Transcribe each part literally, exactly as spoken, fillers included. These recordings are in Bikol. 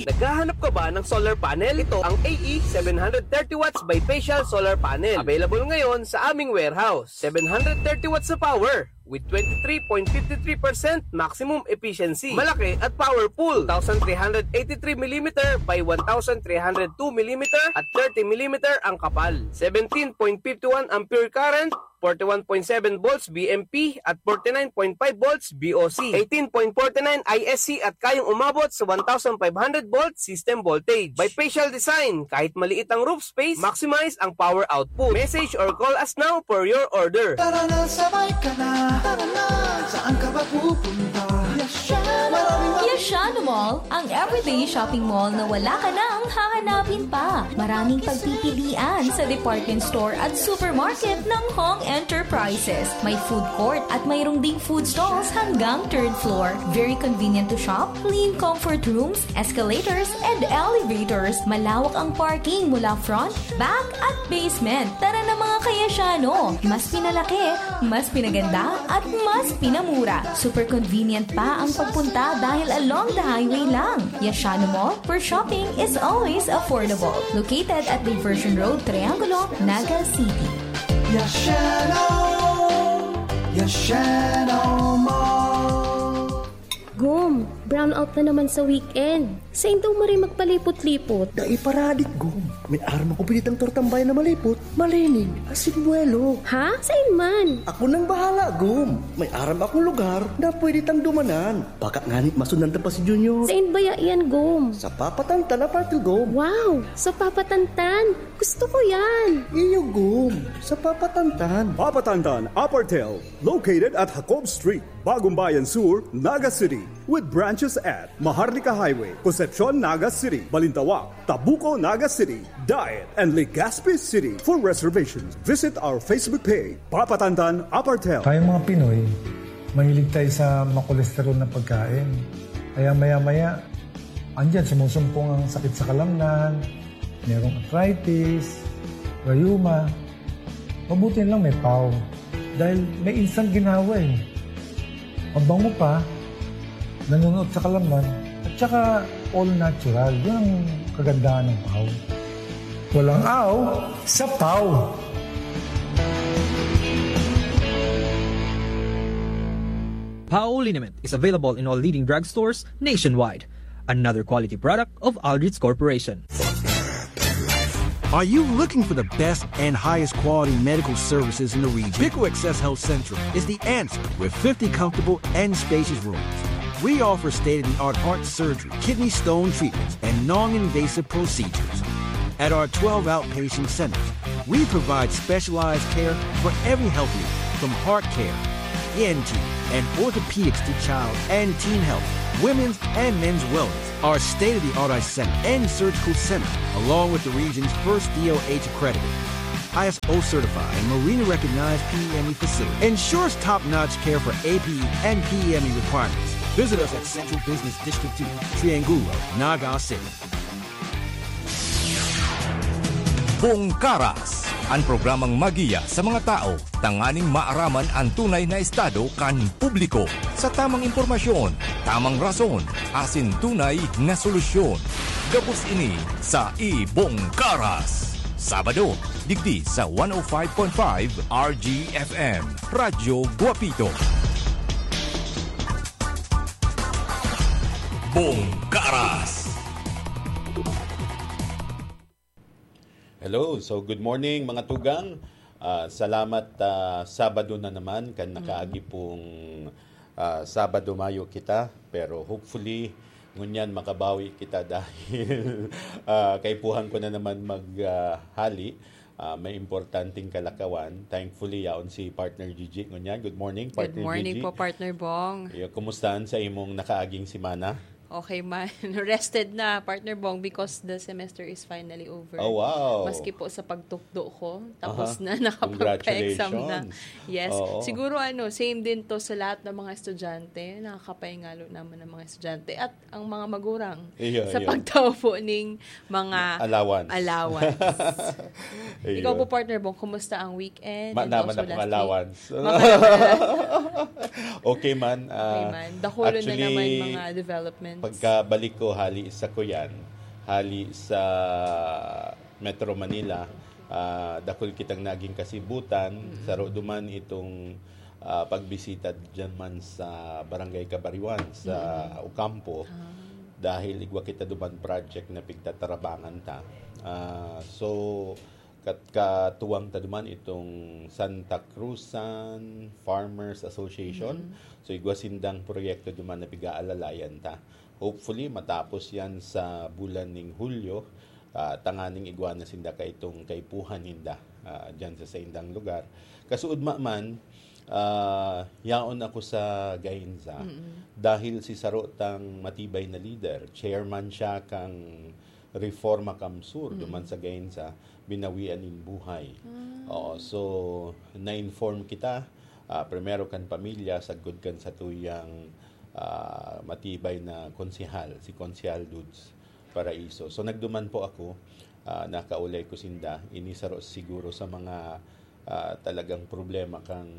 Naghahanap ka ba ng solar panel? Ito ang A E seven hundred thirty watts bifacial solar panel. Available ngayon sa aming warehouse. Seven hundred thirty watts na power with twenty-three point five three percent maximum efficiency. Malaki at powerful. Two thousand three hundred eighty-three millimeter by one thousand three hundred two millimeter at thirty millimeter ang kapal. Seventeen point five one ampere current, forty-one point seven volts V M P at forty-nine point five volts V O C, eighteen point forty-nine I S C at kayang umabot sa one thousand five hundred volt system voltage. Bifacial design, kahit maliit ang roof space, maximize ang power output. Message or call us now for your order. Tara na, sabay ka na. Tara na, saan ka ba pupunta? Yashano! Maraming Yashano Mall, ang everyday shopping mall na wala ka nang hahanapin pa. Maraming pagpipilian sa department store at supermarket ng Hong Enterprises. May food court at mayroong ding food stalls hanggang third floor. Very convenient to shop, clean comfort rooms, escalators, and elevators. Malawak ang parking mula front, back, at basement. Tara na, mga ka-Yashano! Mas pinalaki, mas pinaganda, at mas pinamura. Super convenient pa ang pagpunta dahil along the highway lang. Yashano Mall, where shopping is always affordable. Located at Diversion Road, Triangulo, Naga City. Yashano! Yashano Mall! Gum, brownout na naman sa weekend. Sain daw maray magpalipot-lipot? Dai pa radik, Gum. May aram ako pinitang tortang bayan na malipot, malinig, asin buwelo. Ha? Sain man? Ako nang bahala, Gum. May aram akong lugar na pwede tang dumanan. Baka ngani masundan ta pa si Junior. Sain baya yan, Gum? Sa Papa Tantan Apartel, Gum. Wow! Sa Papa Tantan! Gusto ko yan! Iyo, Gum. Sa Papa Tantan. Papa Tantan Apartel, located at Jacob Street, Bagumbayan Sur, Naga City, with branches at Maharlika Highway, Concepcion, Naga City, Balintawak, Tabuco, Naga City, Daet, and Legazpi City. For reservations, visit our Facebook page, Papa Tantan Apartel. Tayong mga Pinoy, mahilig tayo sa makolesterol na pagkain. Kaya maya-maya, andyan, sumusumpong ang sakit sa kalamnan, merong arthritis, rayuma. Mabuti na lang may pau. Dahil may instant ginawa eh. Mabango pa, nanunuot sa kalamnan, at saka all natural. Yun ang kagandahan ng pau. Walang aw sa pau. Pau liniment is available in all leading drugstores nationwide. Another quality product of Aldrich Corporation. Are you looking for the best and highest quality medical services in the region? Pico Access Health Central is the answer with fifty comfortable and spacious rooms. We offer state-of-the-art heart surgery, kidney stone treatments, and non-invasive procedures. At our twelve outpatient centers, we provide specialized care for every health need, from heart care, E N T, and orthopedics to child and teen health, women's and men's wellness. Our state-of-the-art eye center and surgical center, along with the region's first D O H accredited, I S O certified, and Marina recognized P E M E facility, ensures top-notch care for A P E and P E M E requirements. Visit us at Central Business District two, Triangulo, Naga City. Bongkaras, ang programang magiya sa mga tao tanganing maaraman an tunay na estado kan publiko. Sa tamang impormasyon, tamang rason, asin tunay na solusyon. Gabos ini sa Ibongkaras. Sabado, digdi sa one oh five point five R G F M, Radyo Guapito. Bongkaras. Hello. So, good morning, mga tugang. Ah, salamat, ah, Sabado na naman kan nakaagi pong, ah, Sabado mayo kita. Pero hopefully, ngunyan makabawi kita dahil, ah, kaipuhan ko na naman mag, ah, hali. Ah, may importanteng kalakawan. Thankfully, yaon si Partner Gigi ngunyan. Good morning, Good Partner morning Gigi. po, Partner Bong. Iyo, kumusta an sa imong nakaaging semana? Okay man. Rested na, Partner Bong, because the semester is finally over. Oh, wow. Maski po sa pagtukdo ko, tapos Aha. na, nakapagpa-exam na. Congratulations. Yes. Oo. Siguro, ano, same din to sa lahat ng mga estudyante. Nakakapahingalo naman ng mga estudyante at ang mga magurang Iya, sa iya. pagtao po ning mga Allowance. allowance. Iyo. Ikaw po, Partner Bong, kumusta ang weekend Ma-, and naman also akong last week? allowance. Maka- Okay man, Okay ah, man. Dakulo na actually, naman mga development. Pagkabalik ko hali sa kuyan, hali sa Metro Manila, ah, dakul kitang naging kasibutan, saro duman itong, ah, pagbisita diyan man sa Barangay Cabariwan, sa Ocampo, dahil igwa kita duman project na pigtatarabangan ta. Ah, so, kat-, katuwang ta duman itong Santa Cruzan Farmers Association. So, igwa sindang proyekto duman na pig-aalalayan ta. Hopefully, matapos yan sa bulan ning Hulyo, ah, tanganing igwa na sinda kaitong kaipuhan ninda, ah, dyan sa saindang lugar. Kasuudma man, ah, yaon ako sa Gainza dahil si saro tang matibay na lider, chairman siya kang Reforma Kamsur, duman sa Gainza, binawian nin buhay. Oo, so, na-inform kita, ah, primero kan pamilya, sagkod kan satuyang, ah, matibay na konsehal, si Konsehal Dudes Paraiso. So, nagduman po ako, ah, nakaulay ko sinda, ini saro siguro sa mga, ah, talagang problema kan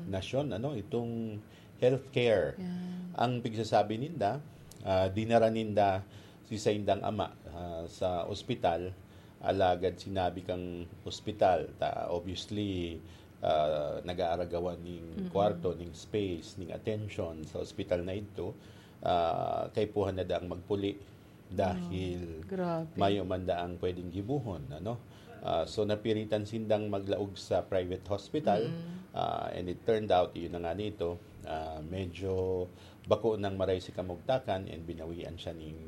nasyon, ano, itong healthcare. Yan. Ang pigsasabi ninda, ah, dinara ninda si saindang ama, ah, sa ospital, alagad sinabi kang ospital, ta, obviously, ah, nag-aaragawan ning kwarto, ning space, ning attention sa ospital na idto, ah, kaipuhan na daang magpuli dahil Grabe. mayo man daang pwedeng gibohon, ano? Ah, so, napiritan sindang maglaog sa private hospital, ah, and it turned out, yun na nga nito, ah, medyo bako nang maray si kamugtakan and binawian siya ning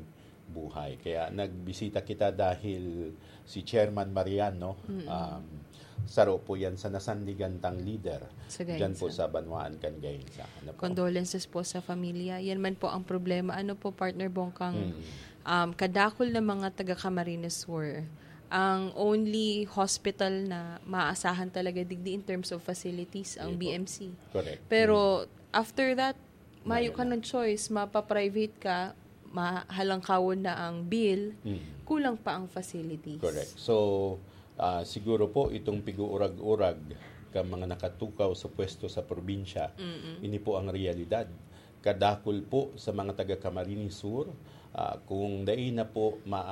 buhay. Kaya nagbisita kita dahil si Chairman Mariano, um, saro po yan sa nasandigan tang lider Sa dyan po Gainza. sa Banwaan kan Gainza. Ano po? Condolences po sa familia. Yan man po ang problema. Ano po, Partner Bong, kang, um, kadakul na mga taga Camarines Sur, ang only hospital na maasahan talaga digdi in terms of facilities, ang Yun po. B M C. Correct. Pero after that, mayo Mayo ka na. ng choice, mapa-private ka, mahalangkawon na ang bill, Mm. kulang pa ang facilities. Correct. So, ah, siguro po itong pig-uurag-urag ka mga nakatukaw sa pwesto sa probinsya, Mm-mm. ini po ang realidad. Kadakul po sa mga taga Camarines Sur, ah, kung dai na po ma-,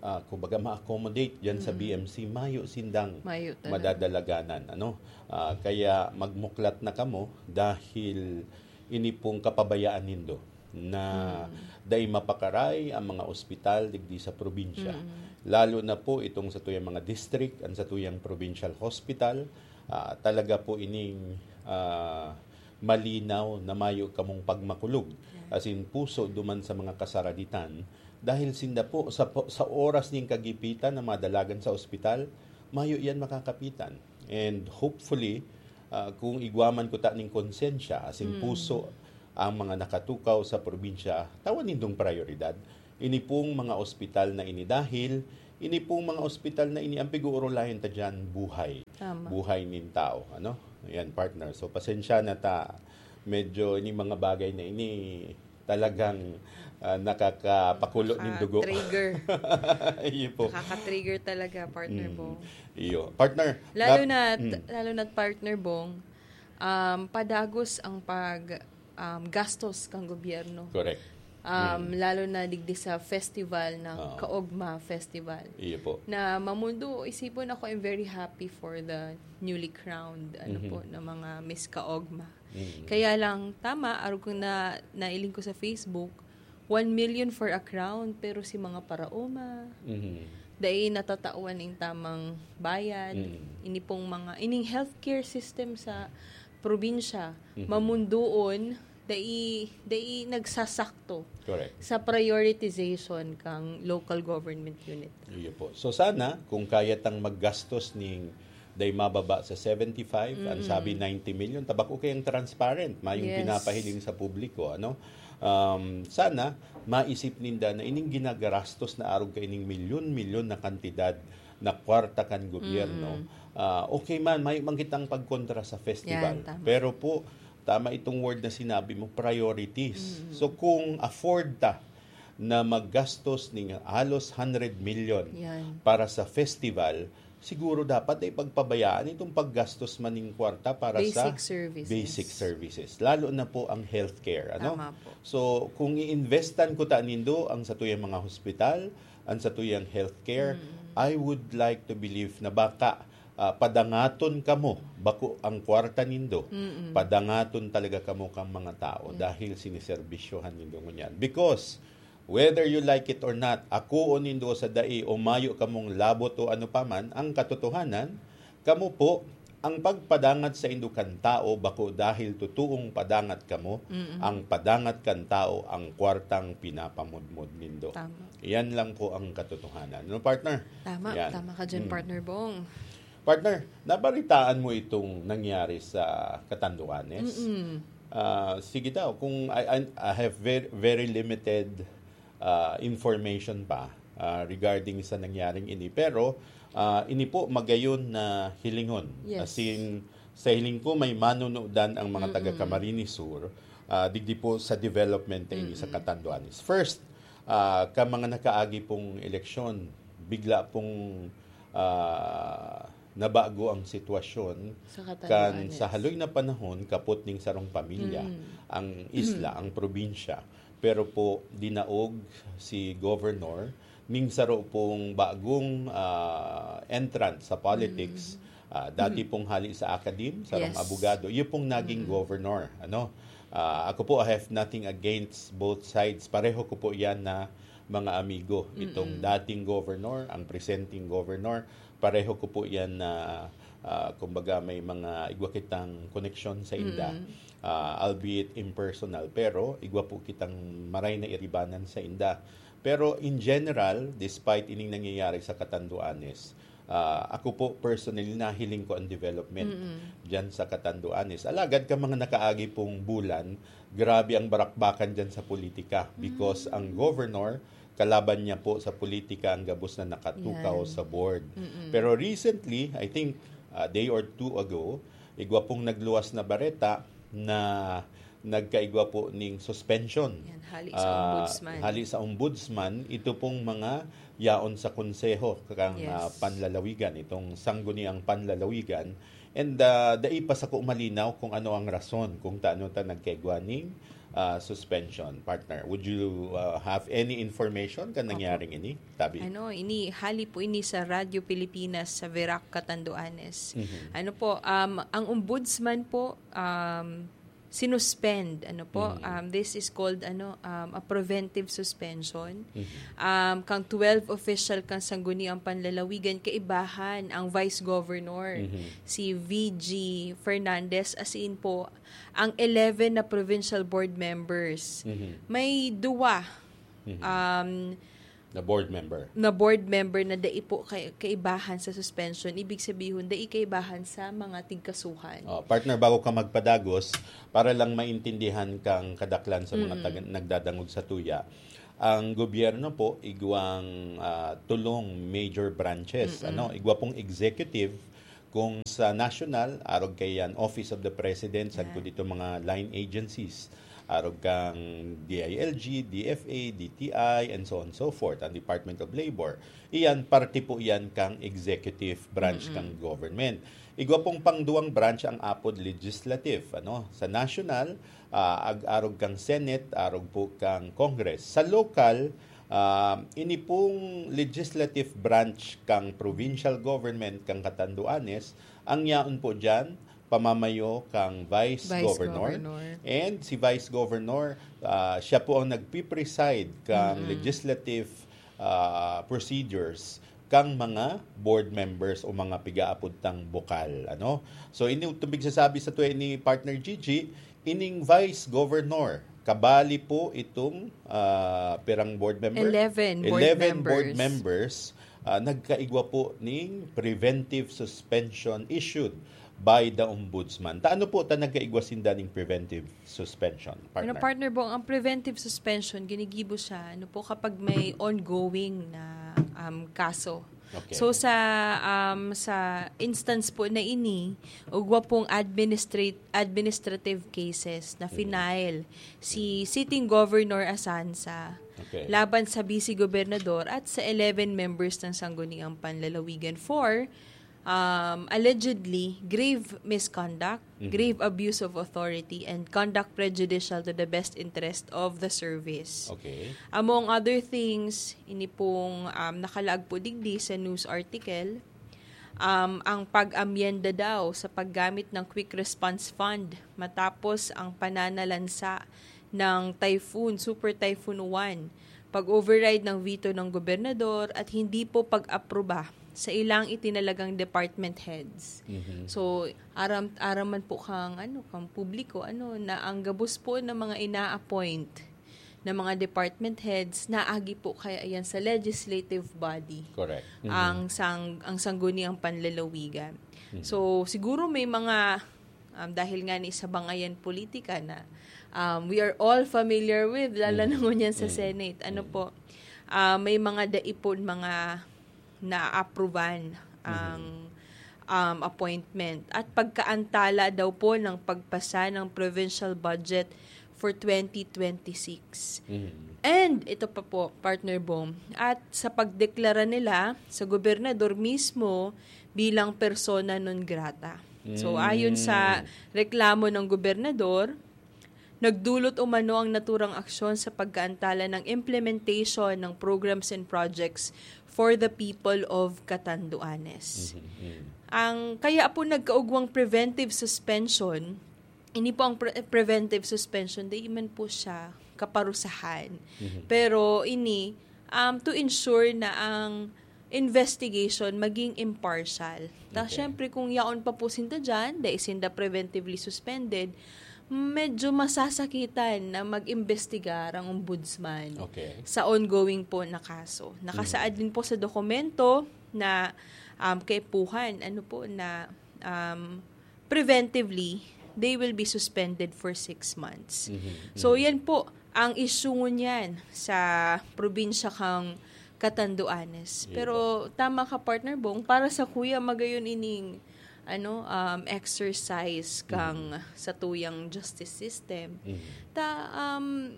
ah, kumbaga ma-accommodate diyan sa Mm. B M C, mayo sindang Mayo talaga. madadalaganan, ano? Ah, kaya magmuklat na kamo dahil ini pong kapabayaan nindo na Mm. dai mapakaray ang mga ospital digdi sa probinsya. Mm. Lalo na po itong satuyang mga district, ang satuyang provincial hospital, ah, talaga po ining, ah, malinaw na mayo kamong pagmakulog. Yes. As in, puso duman sa mga kasaraditan. Dahil sinda po, sa po, sa oras ning kagipitan na madalagan sa ospital, mayo yan makakapitan. And hopefully, ah, kung igwa man kuta ning konsensya, as in Mm. puso, ang mga nakatukaw sa probinsya, tawan nindong prioridad. Ini pong mga ospital na ini dahil, ini pong mga ospital na ini, ang pig-uurulayan ta dyan, buhay. Tama. Buhay nin tao, ano? Ayan, partner. So, pasensya na ta. Medyo ini mga bagay na ini talagang, ah, nakakapakulo nin dugo. Nakaka-trigger. Iyo po. Nakaka-trigger talaga, Partner Mm. Bong. Iyo. Partner, Lalo nap-, na, mm. lalo na, Partner Bong, um, padagos ang pag, um, gastos kang gobyerno. Correct. Um, Mm. lalo na digdi sa festival ng Oo. Kaogma Festival. Iyo po. Na mamundo, isipon ako, I'm very happy for the newly crowned, ano Mhm. po, na mga Miss Kaogma. Mm. Kaya lang, tama, arog ko na nailing ko sa Facebook, one million for a crown, pero si mga paraoma, Mhm. dai natatawan ning tamang bayad. Mm. Ini pong mga, ining healthcare system sa probinsya, Mhm. mamundoon, dai, dai nagsasakto Correct. sa prioritization kang local government unit. Iyo po. So sana, kung kaya tang maggastos ning dai mababa sa seventy-five, ang Mm. sabi ninety million, tabako kayang transparent, mayong Yes. pinapahiling sa publiko, ano? Um, sana, maisip ninda na ining ginagarastos na arog kaining milyon-milyon na kantidad na kwarta kan gobyerno, Mm. ah, okay man, mayo man kitang pagkontra sa festival. Yan, tama. Pero po, tama itong word na sinabi mo, priorities. Mm. So, kung afford ta na maggastos ning halos hundred million Yan. para sa festival, siguro dapat ay pagpabayaan itong paggastos man ning kwarta para sa Basic services. basic services, lalo na po ang healthcare, ano? Tama po. So, kung i-investan ko ta nindo ang satuyang mga hospital, ang satuyang healthcare, Mm. I would like to believe na baka, ah, padangaton kamo, bako ang kwarta nindo, Mm. padangaton talaga kamo kang mga tao Yeah. dahil siniserbisyohan nindo ngunyan. Because, whether you like it or not, akoon nindo sa dai o mayo kamong labot o ano pa man, ang katotohanan, kamo po, ang pagpadangat saindo kan tao, bako dahil totoong padangat kamo, Mm. ang padangat kan tao, ang kwartang pinapamudmod nindo. Tama. Yan lang po ang katotohanan. No, partner? Tama, Yan. tama ka dyan, Mm. Partner Bong. Partner, nabalitaan mo itong nangyari sa Catanduanes? Mm-mm. Ah, sige daw, kung I, I, I have very, very limited, ah, information pa, ah, regarding sa nangyaring ini. Pero, ah, ini po magayon na hilingon. Yes. As in, sa hiling ko, may manunudan ang mga taga Mm-mm. Camarines Sur, ah, digdi po sa development na ini sa Mm-mm. Catanduanes. First, ah, ka mga nakaagi pong eleksyon, bigla pong, ah, nabago ang sitwasyon Sa kan Catanduanes. sa haloy na panahon kapot ning sarong pamilya Mm. ang isla, ang probinsya. Pero po, dinaog si Governor ning saro pong bagong, ah, entrant sa politics. Mm. Ah, dati Mm. pong hali sa academe, sarong Yes. abogado. Iyo pong naging Mm. governor, ano? Ah, ako po, I have nothing against both sides. Pareho ko po yan na mga amigo. Itong Mm. dating governor, ang presenting governor, pareho ko po yan na, ah, kumbaga, may mga igwa kitang koneksyon sa inda. Mm. Ah, albeit impersonal, pero igwa po kitang maray na iribanan sa inda. Pero in general, despite ining nangyayari sa Catanduanes, ah, ako po personally, nahiling ko ang development Mm-mm. dyan sa Catanduanes. Alagad ka mga nakaagi pong bulan, grabe ang barakbakan dyan sa politika because Mm. ang governor, kalaban niya po sa politika ang gabos na nakatukaw Yan. sa board. Mm-mm. Pero recently, I think a day or two ago, igwa pong nagluwas na bareta na nagkaigwa po ning suspension. Yan, hali sa Ah, ombudsman. hali sa ombudsman, ito pong mga yaon sa konseho kang, Yes. ah, panlalawigan, itong sangguniang panlalawigan. And, ah, dai pa sako malinaw kung ano ang rason kung taano ta nagkaigwa ning, ah, suspension, partner. Would you, ah, have any information kan Opo. nangyaring ini? Tabi. Ano, ini, hali po ini sa Radyo Pilipinas sa Virac, Catanduanes. Mhm. Ano po, um, ang ombudsman po, um, sinuspend, ano po, Mhm. um, this is called, ano, um, a preventive suspension. Mhm. Um, kang twelve official kang Sangguniang Panlalawigan, kaibahan ang Vice Governor, Mhm. si V G Fernandez, as in po, ang eleven na provincial board members. Mhm. May duwa, Mhm. um, Na board member. na board member na dai po kay-, kaibahan sa suspension. Ibig sabihon, dai kaibahan sa mga tigkasuhan. Oh, partner, bago ka magpadagos, para lang maintindihan kang kadaklan sa mga Mm. taga-, nagdadangog sa tuya, ang gobyerno po, igwang, ah, tulong major branches, Mm-mm. ano, igwa pong executive, kung sa national, arog kay yan, Office of the President, sagkod Yan. dito mga line agencies, arog kang D I L G, D F A, D T I, and so on and so forth, ang Department of Labor. Iyan, parte po yan kang executive branch Mm-mm. kang government. Igwa pong pangduwang branch ang apod legislative, ano? Sa national, ah, ag-, arog kang Senate, arog po kang Congress. Sa local, ah, ini pong legislative branch kang provincial government kang Catanduanes, ang yaon po diyan, pamamayo kang Vice Vice Governor. Governor. And si Vice Governor, ah, siya po ang nagpipreside kang Mm-mm. legislative, ah, procedures kang mga board members o mga pigaapod tang bokal, ano? So, ini itong pigsasabi sa tuya ni Partner Gigi, ining Vice Governor, kabali po itong, ah, pirang board member? Eleven board Eleven board members. members, ah, nagkaigwa po ning preventive suspension issued by the Ombudsman. Ta ano po ta nagkaigwa sinda ning preventive suspension, Ano, partner? partner Bong, ang preventive suspension, ginigibo siya, ano po, kapag may ongoing na, um, kaso. Okay. So, sa, um, sa instance po na ini, ugwa pong administrate-, administrative cases na Mhm. final si sitting Governor Asansa Okay. laban sa vice gobernador at sa eleven members ng Sangguniang Panlalawigan for um, allegedly grave misconduct, Mhm. grave abuse of authority, and conduct prejudicial to the best interest of the service. Okay. Among other things, ini pong, um, nakalaag po digdi sa news article, um, ang pag-amyenda daw sa paggamit ng Quick Response Fund matapos ang pananalansa ng Typhoon, Super Typhoon Uwan, pag-override ng veto ng gobernador at hindi po pag-aproba sa ilang itinalagang department heads. Mhm. So, aram aram man po kang, ano, kang publiko, ano, na ang gabos po ng mga ina-appoint na mga department heads, naagi po kaya yan sa legislative body, Correct. Mhm. ang sang ang sangguniang panlalawigan. Mhm. So, siguro may mga, um, dahil nga ni sa bangayan politika na, um, we are all familiar with, lalo na Mhm. ngunyan sa Mhm. Senate. Ano Mhm. po, ah, may mga daipon, mga naapruban ang, um, appointment at pagkaantala daw po ng pagpasa ng provincial budget for twenty twenty-six. Mhm. And ito pa po, Partner Bong, at sa pagdeklara nila sa gobernador mismo bilang persona non grata. So, Mm. ayon sa reklamo ng gobernador, nagdulot umano ang naturang aksyon sa pagkaantala ng implementation ng programs and projects for the people of Catanduanes. Mhm. Mhm. Ang kaya po nagkaugwang preventive suspension, ini po ang pre- preventive suspension, di man po siya kaparusahan. Mhm. Pero ini, um, to ensure na ang investigation maging impartial. Ta, Okay. syempre, kung yaon pa po sinda dyan, dahil sinda preventively suspended, medyo masasakitan na mag-imbestigar ang ombudsman Okay. sa ongoing po na kaso. Nakasaad din po sa dokumento na, um, kaipuhan, ano po, na, um, preventively, they will be suspended for six months. Mhm. So, Mhm. yan po ang issue ngunyan sa probinsya kang Catanduanes. Iba. Pero tama ka, Partner Bong, para sa kuya, magayon ining, ano, um, exercise kang Mhm. sa tuyang justice system. Mhm. Ta, um,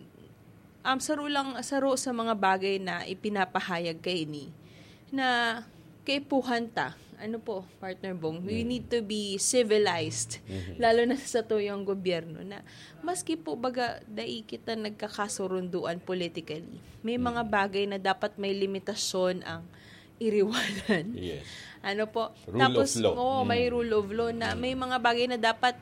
um, saro lang, saro sa mga bagay na ipinapahayag kaini na kaipuhan ta. Ano po, Partner Bong? We Mhm. need to be civilized, Mhm. lalo na sa tuyang gobyerno, na maski po baga dai kita nagkakasurunduan politically, may mga Mhm. bagay na dapat may limitasyon ang iriwanan. Yes. Ano po? Rule Tapos, of law. oo, may Mm. rule of law na Mm. may mga bagay na dapat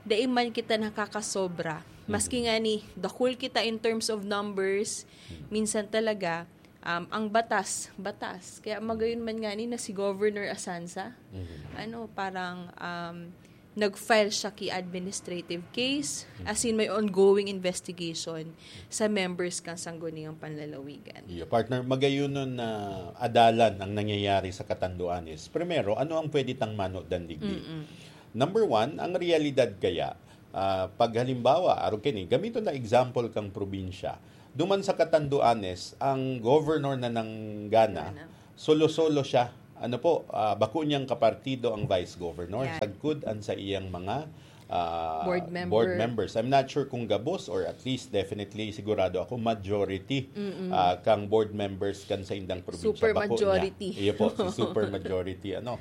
dai man kita nakakasobra. Maski Mhm. nga ni dakul kita in terms of numbers, Mhm. minsan talaga, um, ang batas, batas. Kaya magayon man nga ni na si Governor Asanza, Mhm. ano, parang, um, nag-file siya ki administrative case, as in may ongoing investigation sa members kang Sangguniang Panlalawigan. Iyo, partner, magayunon na adalan ang nangyayari sa Catanduanes. Primero, ano ang pwede tang manodan digdi? Mm-mm. Number one, ang realidad kaya, ah, pag halimbawa, arog kini, gamiton na example kang probinsya. Duman sa Catanduanes, ang governor na nanggana, Gana. solo-solo siya. Ano po, ah, bako niyang kapartido ang vice governor. Yan. Sagkod ang sa iyang mga, ah, Board member. board members. I'm not sure kung gabos or at least definitely sigurado ako majority, Mm-mm. ah, kang board members kan sa indang probinsya. Super Bako niya. majority. Iyo po, si super majority. Ano.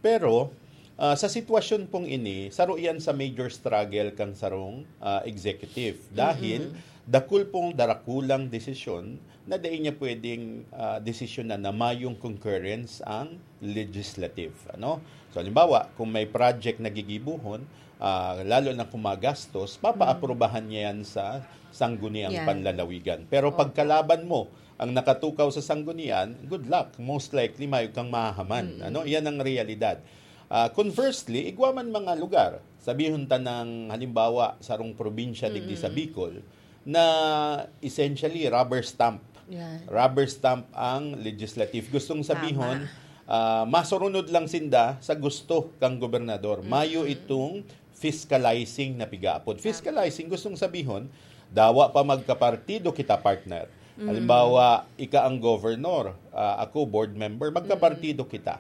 Pero, ah, sa sitwasyon pong ini, saro yan sa major struggle kang sarong, ah, executive. Dahil Mm-mm. dakul pong darakulang desisyon na dai niya pwedeng, ah, desisyonan na mayong concurrence ang legislative. Ano? So, halimbawa, kung may project na gigibuhon, ah, lalo na kung magastos, papaaprubahan niya yan sa Sangguniang Yan. Panlalawigan. Pero Opo. Pagkalaban mo ang nakatukaw sa Sanggunian, good luck. Most likely, mayo kang mahahaman. Mm. Ano? Yan ang realidad. Ah, conversely, igwa man mga lugar, sabihon ta ng halimbawa, sarong probinsya digdi sa Mm. Bicol, na essentially rubber stamp. Yan. Rubber stamp ang legislative. Gustong sabihon, Tama. ah, masurunod lang sinda sa gusto kang gobernador. Mayo Mm. itong fiscalizing na pigaapod. Tama. Fiscalizing, gustong sabihon, dawa pa magkapartido kita, partner. Mm. Halimbawa, ika ang governor, ah, ako board member, magkapartido Mm. kita.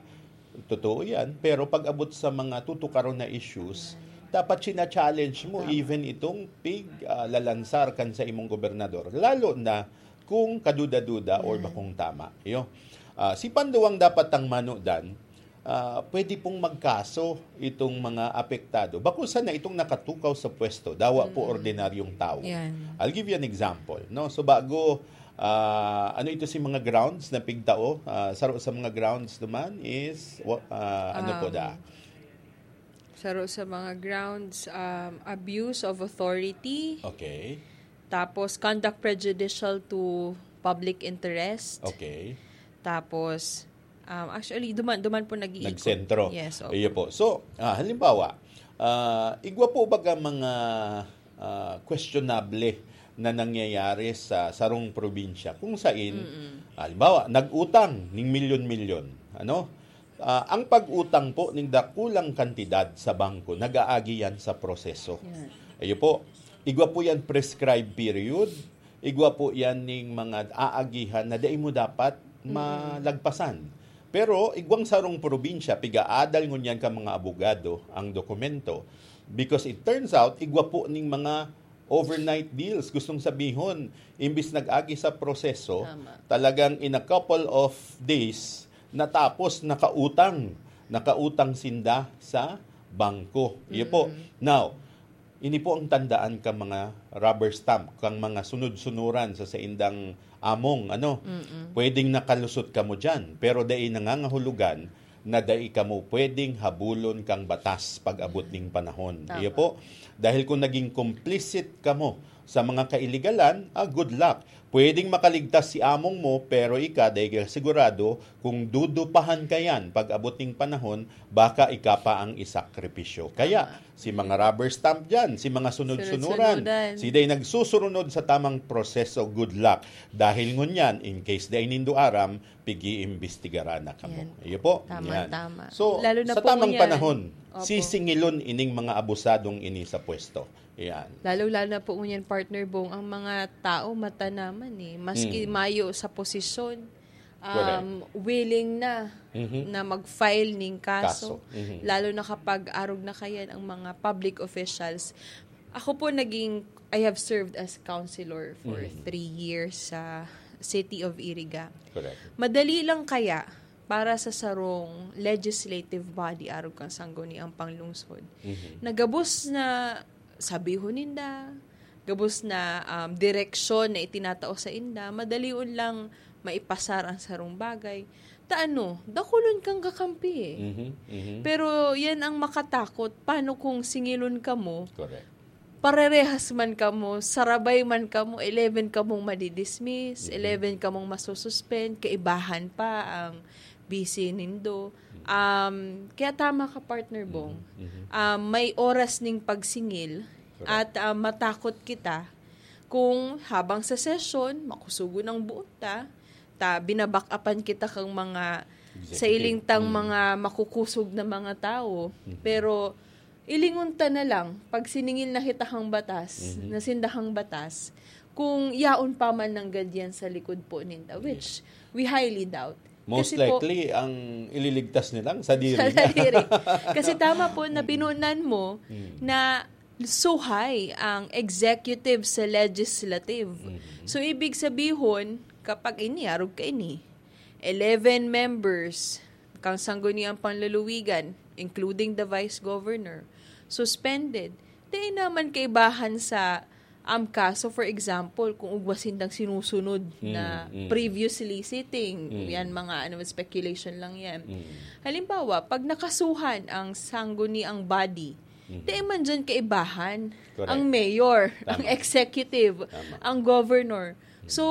Totoo yan. Pero pag abot sa mga tutukaron na issues, dapat sina-challenge mo Tama. even itong pig, ah, lalansar kan sa imong gobernador. Lalo na kung kaduda-duda or Yan. bakong tama. Yo. Ah, si Panduang dapat tang manodan, Ah, pwede pong magkaso itong mga apektado. Bako sana itong nakatukaw sa pwesto, dawa po Mm. ordinaryong tao. Yan. I'll give you an example, no? So, bago, ah, ano ito si mga grounds na pigtao? Ah, saro sa mga grounds naman is, wa-, ah, ano po Um, da? Saro sa mga grounds, um, abuse of authority. Okay. Tapos, conduct prejudicial to public interest. Okay. Tapos, um, actually, duman, duman po nag-iikot. Nagsentro. Yes, opo. Iyo po. So, ah, halimbawa, ah, igwa po baga mga, ah, questionable na nangyayari sa sarong probinsya kung sain, Mm-mm. halimbawa, nag-utang ning milyon-milyon, ano? Ah, ang pag-utang po ning dakulang kantidad sa bangko, nag-aagi yan sa proseso. Yan. Ayo po, igwa po yan prescribed period, igwa po yan ning mga aagihan na dai mo dapat Mm. malagpasan. Pero igwang sarong probinsya, pigaadal ngunyan ka mga abogado ang dokumento. Because it turns out, igwa po ning mga overnight deals. Gustong sabihon, imbis nag-agi sa proseso, Tama. talagang in a couple of days, natapos, nakautang. Nakautang sinda sa bangko. Iyo po. Mm. Now, ini po ang tandaan ka mga rubber stamp, kang mga sunod-sunuran sa saindang among, ano, Mm-mm. pwedeng nakalusot kamo dyan, pero dai nangangahulugan na dai kamo pwedeng habulon kang batas pag-abot ning panahon. Tama. Iyo po, dahil kung naging complicit kamo sa mga kailigalan, ah, good luck. Pwedeng makaligtas si among mo, pero ika, dai ka sigurado kung dudupahan ka yan pag-abot ning panahon, baka ika pa ang isakripisyo. Kaya, Tama. si mga rubber stamp dyan, si mga sunod-sunuran, Sunod-sunuran. si dai nagsusurunod sa tamang proseso, good luck. Dahil ngunyan, in case dai nindo aram, pig-iimbestigaran na kamo. Yan. Iyo po. Tama, Yan. tama. So, Lalo na sa po tamang ngunyan. panahon, Opo. sisingilon ining mga abusadong ini sa pwesto. Yan. Lalo-lalo na po ngunyan, Partner Bong, ang mga tao matanaman eh. Maski Mm. mayo sa posisyon, Correct. um, willing na Mhm. na mag-file ning kaso. Kaso. Mhm. Lalo na kapag arog na kayan ang mga public officials. Ako po naging, I have served as councilor for Mhm. three years sa City of Iriga. Correct. Madali lang kaya para sa sarong legislative body arog kan Sangguniang Panglungsod Mhm. na gabos na sabihon ninda, gabos na, um, direksyon na itinatao sa inda, madalion lang maipasar ang sarong bagay. Ta ano, dakulon kang kakampi eh. Mhm, mhm. Pero yan ang makatakot. Paano kung singilon kamo? Correct. Parerehas man kamo, sarabay man kamo, eleven kamong madidismiss, Mhm. eleven kamong masususpend, kaibahan pa ang B C nindo. Mhm. Um, kaya tama ka, Partner Bong. Mhm, mhm. Um, may oras ning pagsingil Correct. at, um, matakot kita kung habang sa sesyon, makusugon ang buot ta, ta, binabakapan kita kang mga Executive. sailing tang Mm. mga makukusog na mga tao. Mhm. Pero ilingon ta na lang, pag siningil na kita kang batas, Mhm. na sindahang batas, kung yaon pa man nanggad yan sa likod po ninda, which Yes. we highly doubt. Most Kasi po likely, ang ililigtas nilang sadiri Sa na. sadiri. Kasi tama po na Mm. pinunan mo Mm. na suhay ang executive sa legislative. Mhm. So, ibig sabihon, kapag ini, arog ka ini, eleven members kang Sangguniang Panluluwigan, including the vice governor, suspended. Dai naman kaibahan sa, um, kaso, for example, kung ugwa sindang sinusunod Mm, na mm. previously sitting, Mm. yan mga ano, speculation lang yan. Mm. Halimbawa, pag nakasuhan ang Sangguniang body, Mhm. dai man dyan kaibahan Correct. ang mayor, ang Tama. executive, Tama. ang governor. Mhm. So,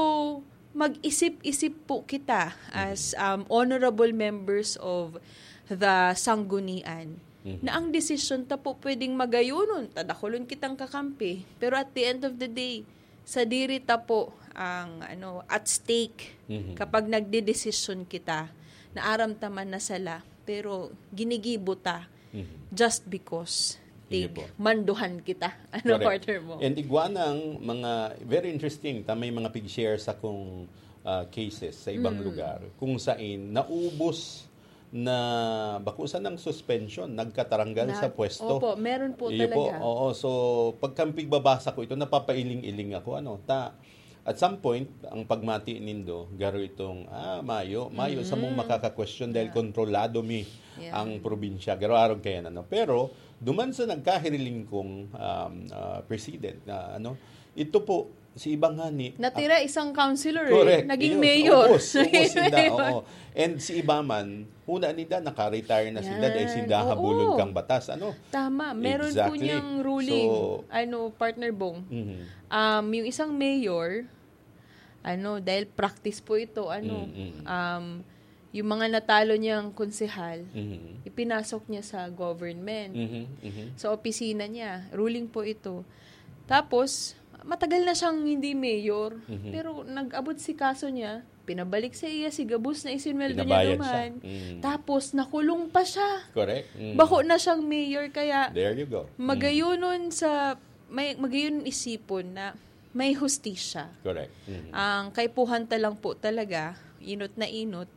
mag-isip-isip po kita as, Mhm. um, honorable members of the Sanggunian Mhm. na ang desisyon ta po pwedeng magayonon, ta dakulon kitang kakampi. Pero at the end of the day, sadiri ta po ang, ano, at stake Mhm. kapag nagdedesisyon kita na aram ta man na sala, pero ginigibo ta Mhm. just because Sige tig po. manduhan kita. Ano, Correct. partner mo? And igwa ng mga very interesting, ta may mga pig-share sa kung, ah, cases sa ibang Mm. lugar, kung sain naubos na bako sanang suspension, nagkataranggal Na-, sa pwesto. opo, meron po Iyo po, talaga. oo. So, pagka pigbabasa ko ito, napapailing-iling ako, ano, ta, At some point, ang pagmati nindo, garo itong, ah, mayo, mayo sa mong Mm. makaka-question dahil Yeah. kontrolado mi Yeah. ang probinsya. Garo arog kayan, ano. Pero, duman sa nagkahiriling kong, um, ah, president na, ano, ito po, si iba nga ni Natira isang councilor eh. Correct. Naging Yun. mayor. Ubos, ubos, sinda, oo. And si iba man, huna ninda, naka-retire na sinda dahil Yan. sinda Oo. habulon kang batas. Ano? Tama. Meron po Exactly. niyang ruling, So, ano, partner Bong. Mhm. Um, yung isang mayor, ano, dahil practice po ito, ano, Mm, mm. um, yung mga natalo niyang konsehal, Mhm. ipinasok niya sa government, Mhm, mhm. sa opisina niya. Ruling po ito. Tapos, matagal na siyang hindi mayor, Mhm. pero nag-abot si kaso niya, pinabalik sa iya si gabos na isinweldo niya Pinabayad siya. duman. Mm. Tapos, nakulong pa siya. Correct. Mm. Bako na siyang mayor, kaya There you go. Mm. magayunon sa, may, magayunon isipon na may hustisya. Correct. Mhm. Ang kaipuhan ta lang po talaga, inot na inot,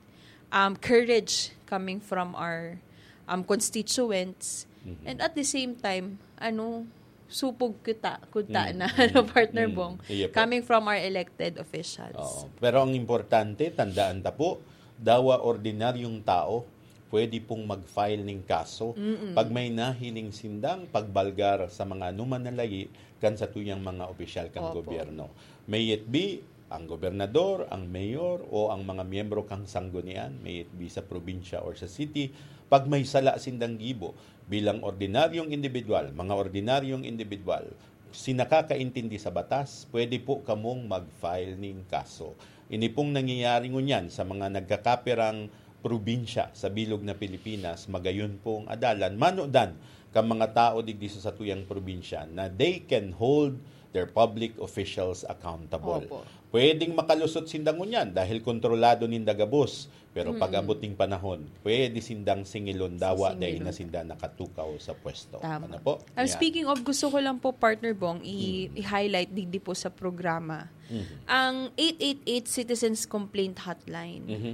um, courage coming from our, um, constituents. Mhm. And at the same time, ano, supog kita, kuta Mhm. na, ano, Mhm. partner Mhm. Bong, Iya po. coming from our elected officials. Oo. Pero ang importante, tandaan ta po, dawa ordinaryong tao, pwede pong mag-file ning kaso Mm-mm. pag may nahiling sindang pagbalgar sa mga anuman na layi kan satuyang mga opisyal kan Opo. gobyerno. May it be ang gobernador, ang mayor, o ang mga miyembro kan sanggunian, may it be sa probinsya or sa city, pag may sala sindang gibo bilang ordinaryong indibidwal, mga ordinaryong indibidwal, si nakakaintindi sa batas, pwede po kamong mag-file ning kaso. Ini pong nangyayari ngunyan sa mga nagkakapirang probinsya sa bilog na Pilipinas, magayon pong adalan, manodan kan mga tao digdi sa satuyang probinsya na they can hold their public officials accountable. Opo. Pwedeng makalusot sinda ngunyan dahil kontrolado ninda gabos. Pero Mm. pag-abot ning panahon, pwede sindang singilon, dawa dai Sisingilon. na sinda nakatukaw sa pwesto. Tama. Ano po? And Yan. speaking of, gusto ko lang po, partner Bong, i-, Mm. i-highlight digdi po sa programa. Mhm. Ang eight eight eight Citizens Complaint Hotline. Mhm.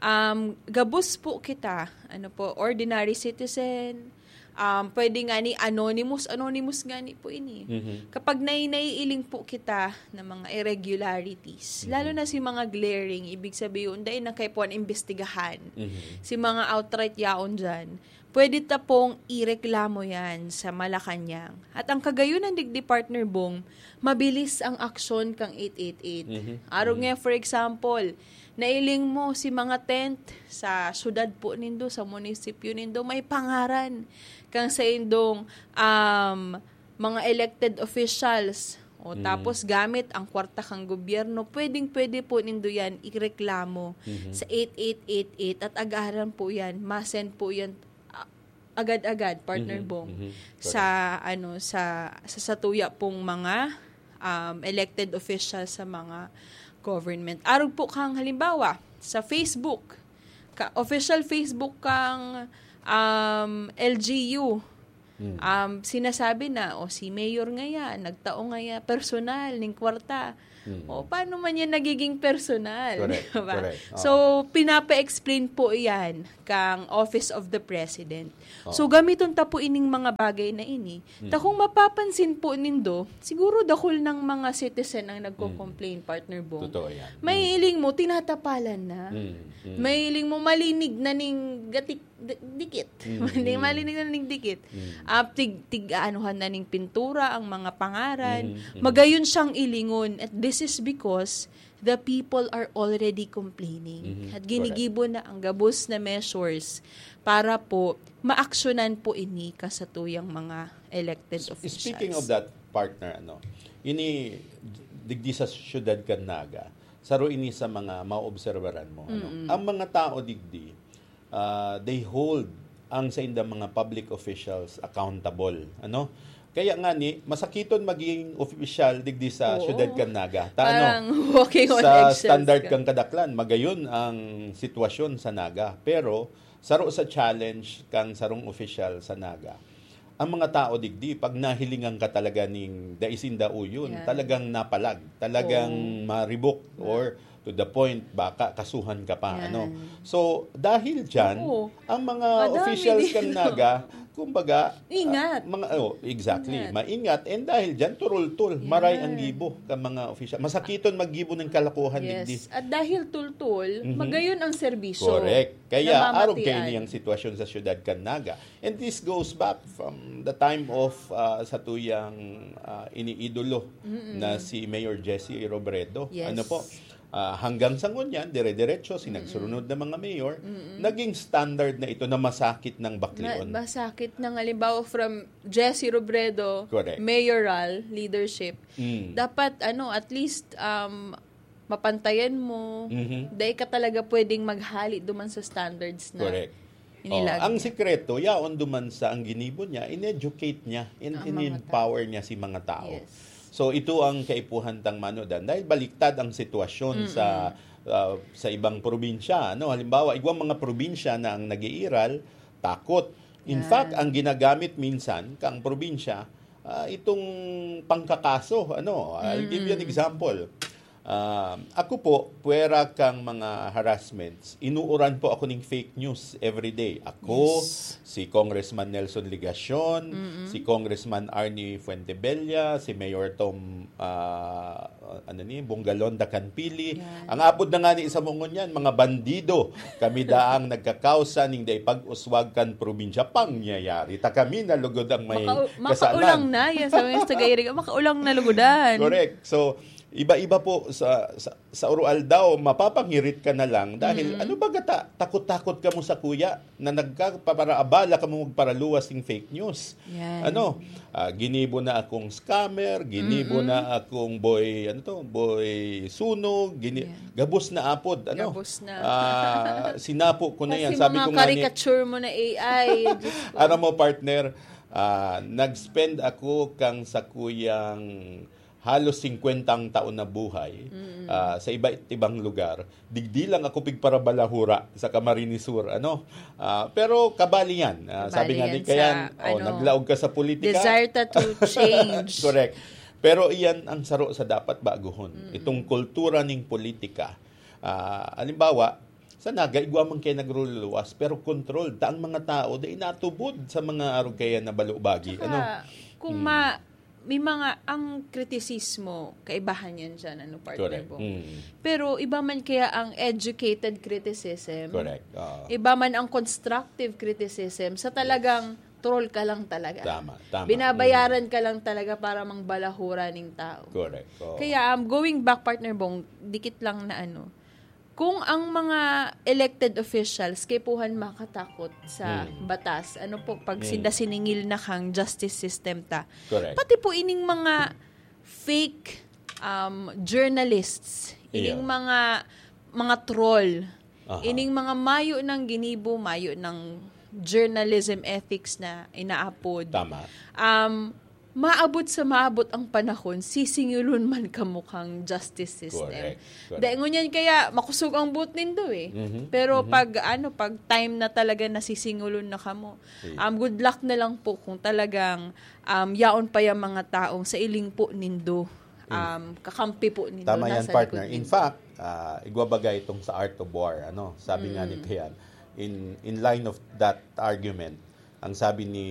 Um, gabos po kita, ano po, ordinary citizen, um, pwede nga ni anonymous, anonymous nga ni po ini. Mhm. Kapag nai-, naiiling po kita ng mga irregularities, Mhm. lalo na si mga glaring, ibig sabihin, dai na kaipuhan imbestigahan. Mhm. Si mga outright yaon dyan, pwede ta pong ireklamo yan sa Malacañang. At ang kagayunan digdi, partner Bong, mabilis ang aksyon kang eight eight eight. Mhm. Arog Mhm. nga, for example, nailing mo si mga tent sa syudad po nindo, sa munisipyo nindo, may pangaran kang saindong, um, mga elected officials. O, Mm. tapos gamit ang kwarta kang gobyerno, pwedeng-pwede po nindo yan ireklamo Mhm. sa eight eight eight eight at agaran po yan, ma-send po yan, ah, agad-agad, partner Mhm, Bong, mhm. sa, Correct. ano, sa, sa satuya pong mga, um, elected officials sa mga government. Arog po kang halimbawa, sa Facebook, ka, official Facebook kang, um, L G U, Mm. um, sinasabi na, "O, si Mayor ngaya, nagtao ngaya, personal, ning kwarta." Mm. O, paano man yan nagiging personal? Correct, Diba? correct. Oo. So, pinapa-explain po yan kang Office of the President. Oo. So, gamiton ta po ining mga bagay na ini. Ta Mm. kung mapapansin po nindo, siguro dakul ng mga citizen ang nagko-complain, Mm. partner Bong. Totoo yan. May Mm. iling mo, tinatapalan na. Mm, mm. May iling mo, malinig na ning gatik-, di-, dikit. Mm, Mali-, mm. malinig na ning dikit. Mm. Ah, tig-, tig-aanuhan na ning pintura ang mga pangaran. Mm, mm. Magayon siyang ilingon. At this is because the people are already complaining. Mhm, At correct. ginigibo na ang gabos na measures para po maaksyonan po ini kasatuyang mga elected S-, officials. speaking of that, partner, ano, ini, digdi sa siyudad kan Naga, saro ini sa mga maobserbaran mo, ano? Mm-mm. Ang mga tao digdi, ah, they hold ang saindang mga public officials accountable, ano? Kaya nga ni, masakiton maging opisyal digdi sa Oo. siyudad kan Naga. Ta, ano, Parang walking on sa eggshells standard ka. kang kadaklan, magayon ang sitwasyon sa Naga. Pero, saro sa challenge kang sarong opisyal sa Naga, ang mga tao digdi, pag nahilingan ka talaga ning dai sinda uyon, Yan. talagang napalag, talagang Oo. maribok, Na- or to the point, baka kasuhan ka pa, Yan. ano. So, dahil dyan, Oo. ang mga Madami officials din, kang no? Naga, Kumbaga, Ingat. ah, mga, oh, exactly, Ingat. maingat. And dahil dyan, turultul, maray ang Yan. gibo kan mga official. Masakiton maggibo ng kalokohan, digdi. Yes. At dahil tultul, Mhm. magayon ang serbisyo. Correct. Kaya, Namamatian. arog kayo niyang sitwasyon sa syudad kan Naga. And this goes back from the time of ah, sa tuyang ah, iniidolo na si Mayor Jesse Robredo. Yes. Ano po? Ah, hanggang sa ngunyan, dire-diretso, sinagsurunod na mga mayor, naging standard na ito na masakit ng Na, baklion. masakit ng halimbawa from Jesse Robredo, Correct. mayoral leadership. Mm. Dapat, ano, at least, um, mapantayan mo. Mhm. Dahil ka talaga pwedeng maghali duman sa standards na Correct. inilag Oh, ang niya. sikreto, yaon duman sa ang ginibo niya, in-educate niya, in, Ang in mga empower niya si mga tao. Yes. So ito ang kaipuhan tang manodan dahil baliktad ang sitwasyon sa ah, sa ibang probinsya, ano? Halimbawa, igwang mga probinsya na ang nag-iiral, takot. In Yan. fact, ang ginagamit minsan kang probinsya ah, itong pangkakaso, ano? I'll give you an Mm. example. Ah, ako po, puwera kang mga harassments, inuuran po ako ning fake news every day. Ako, Yes. si Congressman Nelson Legacion, Mm-mm. si Congressman Arnie Fuentebella, si Mayor Tom ah, ano ni, Bongalon da Canpili. Yan. Ang apod na nga ni isa mo ngunyan, mga bandido. Kami daang nagkakausa ning dai pag-uswag kan probinsya. Pangyayari. Ta kami na lugod ang may Makau- kasalan. Makaulang na. Yan sa mga Taga-Iriga. Makaulang na lugudan. Correct. So, iba-iba po sa, sa, sa Oroaldaw, mapapangirit ka na lang dahil Mm. ano ba gata, takot-takot ka mo sa kuya na nagkapaparaabala ka mo magparaluwas ng fake news. Yan. Ano, ah, ginibo na akong scammer, ginibo Mm-mm. na akong boy, ano to, boy sunog, gini- Yan. gabos na apod, ano. Gabos na. Ah, sinapo ko na yan. Kasi Sabi mga ko nga ni, caricature mo na A I. Diyos ko. Aram mo, partner, ah, nag-spend ako kang sa kuyang halos singkwentang taon na buhay ah, sa iba't ibang lugar. Digdi lang ako pigparabalahura sa Camarines Sur, ano. Ah, pero kabali yan. Ah, sabi Kabali nga ni yan Kayan, sa, oh, ano, naglaog ka sa politika. Desire ta to change. Correct. Pero iyan ang saro sa dapat baguhon. Itong kultura ning politika. Ah, halimbawa, sa Naga, igwa man kayo nagruluwas, pero controlled. Ta ang mga tao, di inatubod sa mga arog kaya na balubagi. Tsaka, Ano? kung ma- may mga, ang kritisismo, kaibahan yan dyan, ano, partner Correct. Bong? Mm. Pero iba man kaya ang educated criticism, Correct. Oo. iba man ang constructive criticism, sa talagang troll ka lang talaga. Tama, tama. Binabayaran ka lang talaga para mangbalahura ning tao. Correct. Oo. Kaya um, going back, partner Bong, dikit lang na ano, kung ang mga elected officials kaipuhan makatakot sa Hmm. batas, ano po, pag Hmm. sinda siningil na kang justice system ta, Correct. pati po ining mga fake um, journalists, ining Iya. mga mga troll, Aha. ining mga mayo ng ginibo, mayo ng journalism ethics na inaapod. Tama. Um, maabot sa maabot ang panahon, sisingilon man kamo kang justice system. Correct. Correct. Dahil ngunyan kaya makusog ang boot nindo eh. Mhm. Pero Mhm. pag ano, pag time na talaga nasisingilon na kamo, Sige. um, good luck na lang po kung talagang um, yaon pa yung mga taong sa iling po nindo, um, kakampi po nindo, Tama yan, nasa partner. likod In nindo. Fact, ah, igwa bagay itong sa Art of War. Ano? Sabi nga ni Mm. Kayan, in, in line of that argument, ang sabi ni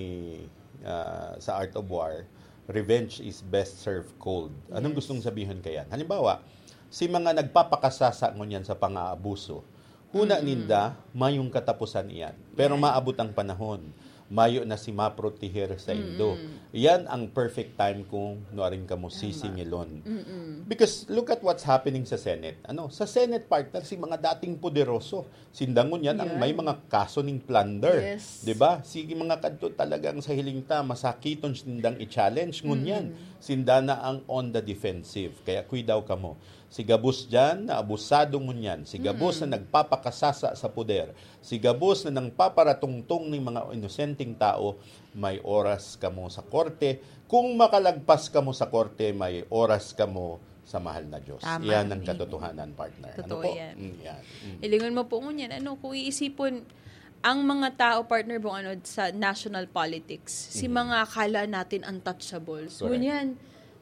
ah, sa Art of War, revenge is best served cold. Anong Yes. gustong sabihin Kayan? Halimbawa, si mga nagpapakasasa ngunyan sa pang-aabuso, huna Mm. ninda, mayong katapusan iyan. Pero Yan. Maabot ang panahon, mayo na si maproteher sa indo. Mm. Yan ang perfect time kung nuarin kamo Tama. sisingilon. Mm-mm. Because look at what's happening sa Senate. Ano, sa Senate, partner, si mga dating poderoso, sinda ngunyan ang Yan. May mga kaso ning plunder. Yes. 'Di ba? Sige, mga kadto talagang sa hiling ta, masakiton sindang i-challenge ngunyan. Mm. Sinda na ang on the defensive. Kaya kuidaw kamo. Si gabos diyan na abusado ngunyan. Si gabos Mm. na nagpapakasasa sa poder. Si gabos na nagpaparatungtong ning mga inosenteng tao, may oras kamo sa korte. Kung makalagpas kamo sa korte, may oras kamo sa mahal na Diyos. Tama. Yan ang Amen. Katotohanan, partner. Totoo Ano po? Yan. Mm, yan. Mm. Ilingon mo po ngunyan, ano, kung iisipon, ang mga tao, partner Bong, ano, sa national politics, si Mhm. mga akala natin untouchables. Correct. Ngunyan,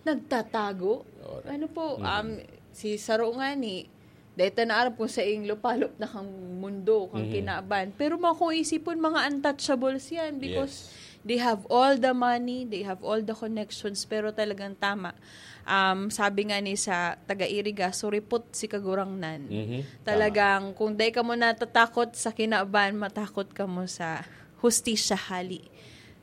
nagtatago. Correct. Ano po, Mhm. um, si Saro nga ni, dahil ta naarap kung sa ing lupalop na kang mundo, kang Mhm. kinaban. Pero mga kung isipon, mga untouchables yan because They have all the money, they have all the connections, pero talagang tama. Um, sabi nga ni sa taga-Iriga, "Suripot si Kagurangnan." Mhm. Tama. Talagang kung dai ka mo natatakot sa kinaban, matakot ka mo sa hustisya hali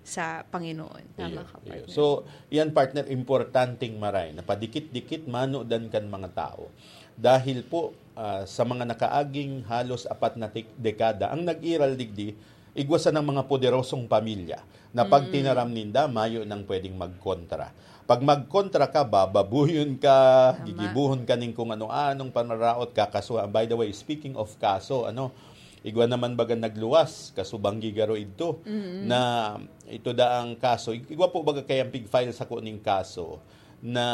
sa Panginoon. Tama Iyo, ka, iyo. partner. So, yan, partner, importanteng maray na padikit-dikit manudan kan mga tao. Dahil po, ah, sa mga nakaaging halos apat na tik- dekada, ang nag-iral digdi, igwa sa ng mga poderosong pamilya na pag tinaram ninda, mayo nang pwedeng magkontra. Pag magkontra ka, bababuyon ka, Tama. gigibuhon ka ning kung ano-anong panaraot, kakasuhan. By the way, speaking of kaso, ano, igwa naman baga nagluwas, kasubang gigaro idto, na ito daang kaso. Ig- Igwa po baga kayang pig-file sako ning kaso na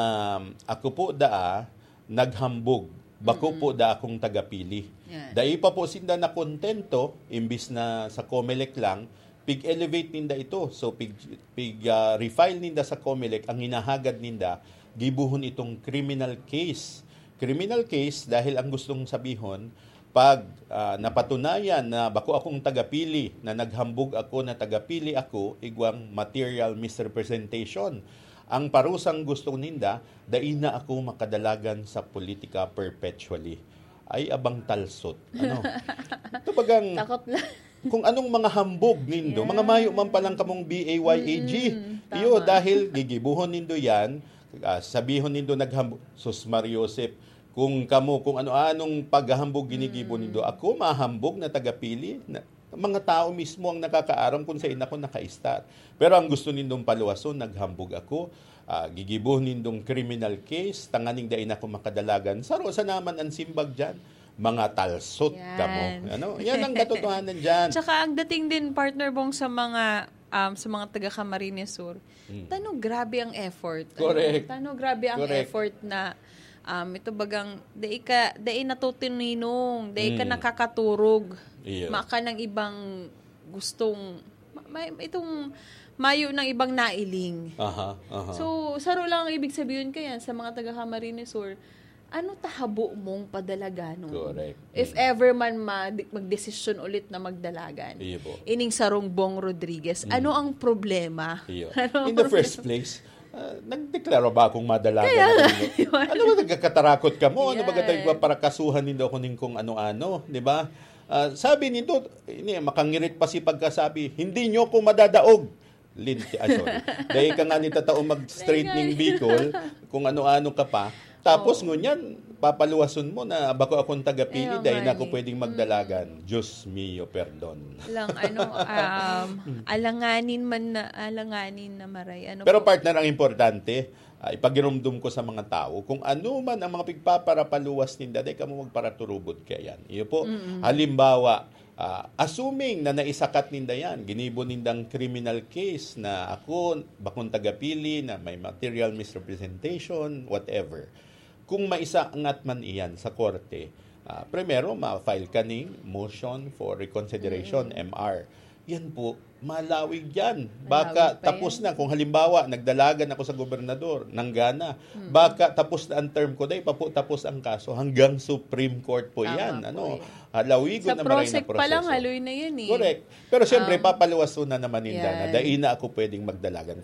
ako po daa naghambog. Bako po da akong tagapili. Yan. Dai pa po sinda nakontento, imbis na sa Comelec lang, pig-elevate ninda ito. So, pig, pig, ah, refile ninda sa Comelec, ang hinahagad ninda, gibuhon itong criminal case. Criminal case dahil ang gustong sabihon, pag, ah, napatunayan na bako akong tagapili, na naghambog ako na tagapili ako, igwang material misrepresentation. Ang parusang gusto ninda, dai na ako makadalagan sa politika perpetually. Ay, abang talsot. Ano? Ito bagang, Takot lang. Kung anong mga hambog nindo, Yeah. mga mayo man palang kamong B A Y A G. Mm, Iyo, tama. Dahil gigibuhon nindo yan, ah, sabihon nindo naghambog, "Sus, Mar Joseph, kung kamo, kung ano-anong paghahambog ginigibo Mm. nindo, ako mahambog na tagapili." Na, mga tao mismo ang nakakaaram kung saan ako naka-start. Pero ang gusto nindong paluwason, naghambog ako, ah, gigibo nindong criminal case, tanganing dai na ako makadalagan. Saro sa naman ang simbag dyan, mga talsot Yan. kamo. Ano? Yan ang katotohanan dyan. Tsaka ang dating din, partner Bong, sa mga um, sa mga taga Camarines Sur, Mm. tano grabe ang effort. Correct. Ano? Tano grabe ang Correct. effort na um, ito bagang dai ka dai natutuninong, dai ka Mm. nakakaturog. Iya. Maka ng ibang gustong ma- may, itong mayo ng ibang nailing. Aha, aha. So, saro lang ang ibig sabihin ko yan sa mga taga Camarines Sur. Ano tahabo mong padalaganon? Correct. If Mm. ever man ma- magdesisyon ulit na magdalagan. Iyo po. Ining sarong Bong Rodriguez, Mm. ano ang problema? Iyo. Ano In the first place, ah, nagdeklara ba akong madalagan Kaya ako nga, nindo? di ba? Ano ba nagkakatarakot ka mo? Ano ba Yan. gatay ba parakasuhan nindo ako ning kung ano-ano? Di ba? Ah, sabi nindo, ini, makangirit pa si pagkasabi, "Hindi niyo ko madadaog." Linti, ah, sorry. Dahil ka nga ni tatao mag-straight Dahil ning nga. Bicol, kung ano-ano ka pa. Tapos Oo. ngunyan, papaluwason mo na bako akong tagapili Kaya dahil nga na ako ni. pwedeng magdalagan. Diyos mio, perdon. Lang, ano, um, alanganin man na, alanganin na maray. Ano Pero po? Partner, ang importante, ah, ipagirumdum ko sa mga tao, kung ano man ang mga pigpaparapaluwas ninda, dai kamo magparaturubod kaya yan. Iyo po, halimbawa, ah, assuming na naisakat ninda yan, ginibo nindang criminal case na ako, bakong tagapili, na may material misrepresentation, whatever. Kung maisangat man iyan sa korte, ah, primero, ma-file ka ning motion for reconsideration, M R. Yan po, malawig yan. Baka Malawig pa tapos yan. Na, kung halimbawa, nagdalagan ako sa gobernador, nanggana. Baka tapos na ang term ko, dahil pa po tapos ang kaso, hanggang Supreme Court po Tama yan. po Ano, yan. Halawigon Sa na maray na prosec pa lang, proseso. Haloy na yan eh. Correct. Pero siyempre, Um, papaluwason na naman ninda na yan. dai na ako pwedeng magdalagan.